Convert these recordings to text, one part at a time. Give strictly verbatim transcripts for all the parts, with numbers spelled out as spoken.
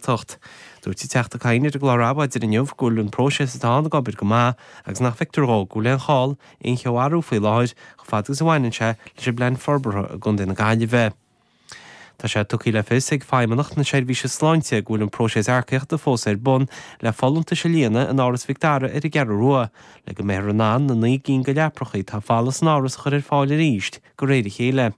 Ghaeltacht. Dúirt an Teachta Kyne ar an gclár Adhmhaidin inniu go bhfuil an próiseas atá ann ag obair go maith agus nach bhfeictear dó go bhfuil aon chall aon cheo a athrú faoi láthair chomh fada agus a bhaineann sé leis an bplean forbartha i gContae na Gaillimhe. Tá sé tugtha le fios ag Feidhmeannacht na Seirbhíse Sláinte go bhfuil an próiseas earcaíochta fós ar bun le folúntais a líonadh in Áras Mhic Dara ar an gCeathrú Rua, le go mbeifear in ann na naoi gcinn de leapacha atá folamh san áras a chur ar fáil arís de réir a chéile.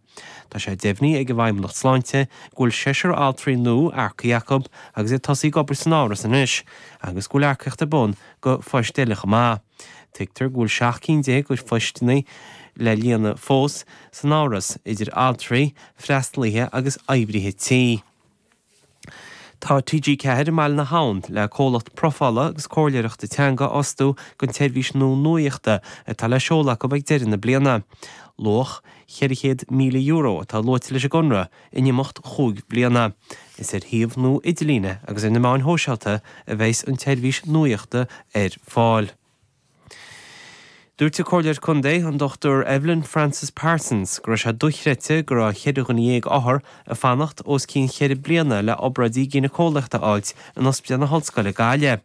Tá sé deimhnithe ag an bhFeidhmeannacht Sláinte go bhfuil seisear altraí nua earcaithe acu agus iad tosaithe ag obair san áras anois, agus go bhfuil earcaíocht ar bun do phoist eile chomh maith. Tuigtear go bhfuil seacht gcinn déag de phoisteanna le líonadh fós san áras idir altraí, freastalaithe agus oibrithe tí. Tá TG Ceathair i mBaile na hAbhann le comhlacht profála agus comhairleoireachta teanga a fhostú don tseirbhís nua nuachta atá le seoladh acu ag deireadh na bliana. Luach ceithre chéad míle euro atá luaite leis an gconradh in imeacht chúig bliana. Is ar shuíomh nua idirlíne agus ar na meáin shóisialta a bheas an tseirbhís nuachta ar fáil. Dúirt an Comhairleoir Contae an Dr Evelyn Francis Parsons go raibh sé dochreidte go raibh ceithre dhuine dhéag othar ag fanacht os cionn cheithre bliana le obráidí gínéiceolaíochta a fháilt in Ospidéal na hOllscoile Gaillimh.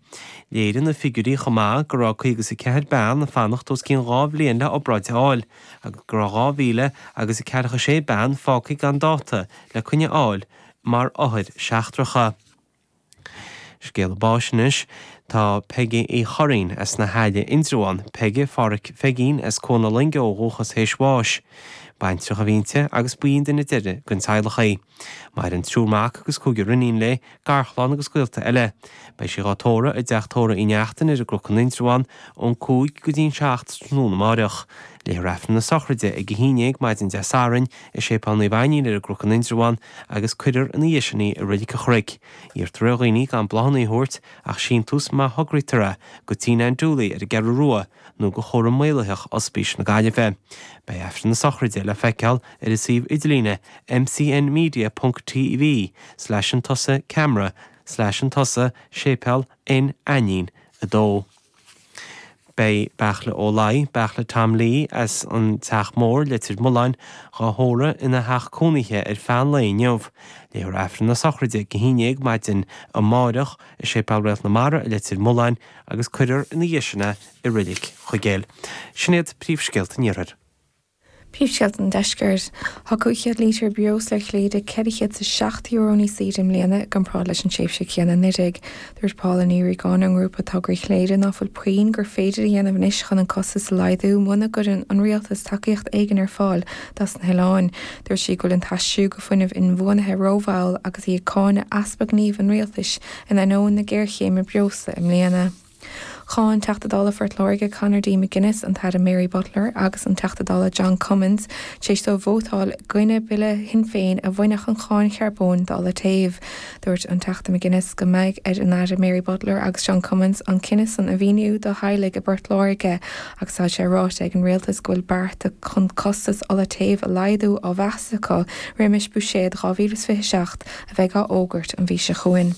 Léirigh na figiúirí chomh maith go raibh caoga is a ceathair bean ag fanacht os cionn dhá bhliain le obráid a fháil, agus go raibh dhá mhíle agus a ceathracha sé bean fágtha gan dáta le coinne a fháil mar othair seachtracha. Scéala báis anois tá Peigí Uí Churraoin as na hAille Indreabhán, Peige Pháraic Pheigín as Cuan na Loinge ó dhúchas théis bháis. Baintreach a bhí inti agus ba í an duine deiridh den teaghlach í. Maireann triúr mac agus cúigear iníon léi, garchlann agus gaolta eile. Beidh sí á tórramh i dteach tórraimh Uí Neachtain ar an gCnoc in Indreabhán ón cúig go dtí an seacht tráthnóna amárach. Léifear Aifreann na sochraide ag a haon déag maidin Dé Sathairn i Séipéal Naomh Ainnín ar an gCnoc in Indreabhán agus cuirfear ina dhiaidh sin í i Reilig an Chnoic. Iarrtar ar dhaoine gan bláthanna a thabhairt ach síntiús má thograítear é go Tigh Nan Dooley ar an gCeathrú Rua nó go chúram maolaitheach Ospís na Gaillimhe. Beidh Aifreann na sochraide le feiceáil ar an suíomh idirlíne mcnmedia.tv slash an tusa camera slash an tusa séipéal N Ainnín a dó. Beidh Beartla Ó Laoi, Beartla Tom Lee as an Teach Mór Leitir Mealláin á thórramh ina theach cónaithe ar feadh an lae inniu. Léifear Aifreann na sochraide ag a haon déag maidin amárach i Séipéal Réalt na Mara i Leitir Mealláin agus cuirfear ina dhiaidh sin é i Reilig Chuigéil. Sin iad príomhscéalta an iarthair. Príomhscéalta an deiscirt. Tá cúig chéad lítear breosla ar Chléire ceithre chéad is seacht euro níos saoire i mbliana i gcomparáid leis an tréimhse chéanna anuraidh. Dúirt Paula Ní Riagáin ón ngrúpa Tograí Chléire ná fuil puinn gur féidir a dhéanamh anois chun an costas a laghdú muna gcuireann an rialtas tacaíocht éigin ar fáil dos na hoileáin. Dúirt sí go bhfuil an t-aistriú go fuinneamh inbhuanaithe rómhall agus í ag cáineadh easpa gnímh an rialtais in ainneoin na géarchéime breosla i mbliana. Cháin Teachta Dála Phort Láirge Conor D. McGuinness an tAire Mary Butler agus an Teachta Dála John Cummins tar éis dóibh vótáil i gcoinne bille Shinn Féin a bhainfeadh an cháin charbóin d'ola téimh. Dúirt an Teachta McGuinness go mbeidh ar an Aire Mary Butler agus John Cummins an cinneadh san a mhíniú do theaghlaigh i bPort Láirge agus tá sé ráite ag an rialtas go bhfuil bearta chun costas ola téimh a laghdú á mheas acu roimis buiséad dhá mhíle is fiche seacht a bheidh á fhógairt an mhí seo chugainn.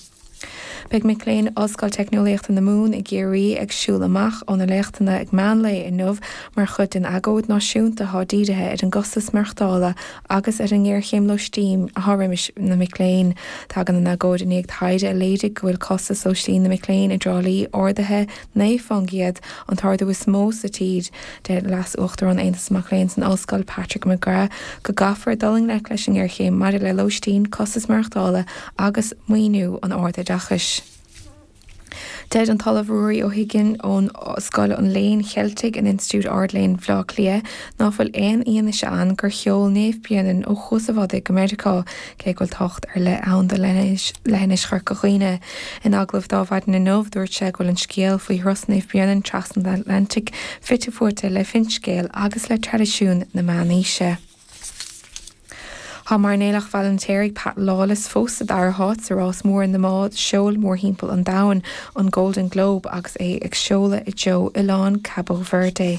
Beidh mic léinn Ollscoil Teicneolaíochta na Mumhan i gCiarraí ag siúl amach ó na léachtanna ag meánlae inniu mar chuid den agóid náisiúnta atá dírithe ar an gcostas maireachtála agus ar an ngéarchéim lóistín atá roimis na mic léinn. Tagann an agóid i ndiaidh taighde a léirigh go bhfuil costas lóistín na mic léinn i dTrá Lí ardaithe naoi faoin gcéad an t-ardú is mó sa tír deir Leas-Uachtarán Aontas Mac Léinn san Ollscoil Patrick McGrath go gcaithfear dul i ngleic leis an ngéarchéim maidir le lóistín, costas maireachtála agus maoiniú an ardoideachais. Deir an tOllamh Ruairí Ó hUiginn ón Scoil an Léinn Cheiltigh in Institiúid Ard-Léinn Bhaile Átha Cliath ná fuil aon fhianaise ann gur sheol Naomh Bréanainn ó Chuas an Bhodaigh go Meiriceá, cé go bhfuil tábhacht ar leith ann do leithinis Chorca Dhuibhne. In agallamh do Adhmhaidin inniu dúirt sé go bhfuil an scéal faoi thuras Naomh Bréanainn trasna an Atlantaigh fite fuaite le finscéal agus le traidisiún na meánaoise. Tá mairnéalach Bhaile an Pat Lawless fós sa dara háit sa rás mór na mbád seoil mórthimpeall an domhain an Golden Globe agus é ag seoladh i dtreo oileán Cabo Verde.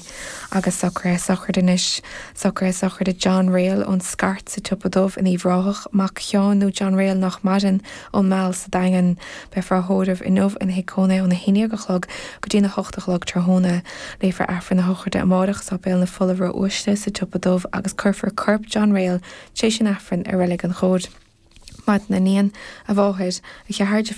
Agus socruithe sochraide anois socruithe sochraide John Rail ón Scairt sa Tsiopa Dubh in Uíbh Ráthach, mac Sheáin nó John Rail nach maireann ón Meall sa Daingean. Beifear á thórramh inniu ina thigh cónaithe óna haon déag a chlog go dtí na hocht a chlog tráthnóna. Léifear Aifreann na sochraide amárach i Séipéal na Fola Ró-Uaisle sa Tsiopa Dubh agus cuirfear corp John Rail tar éis an Aifrinn i Reilig an Chóid. Maidin a níon a mháthair a cheathair de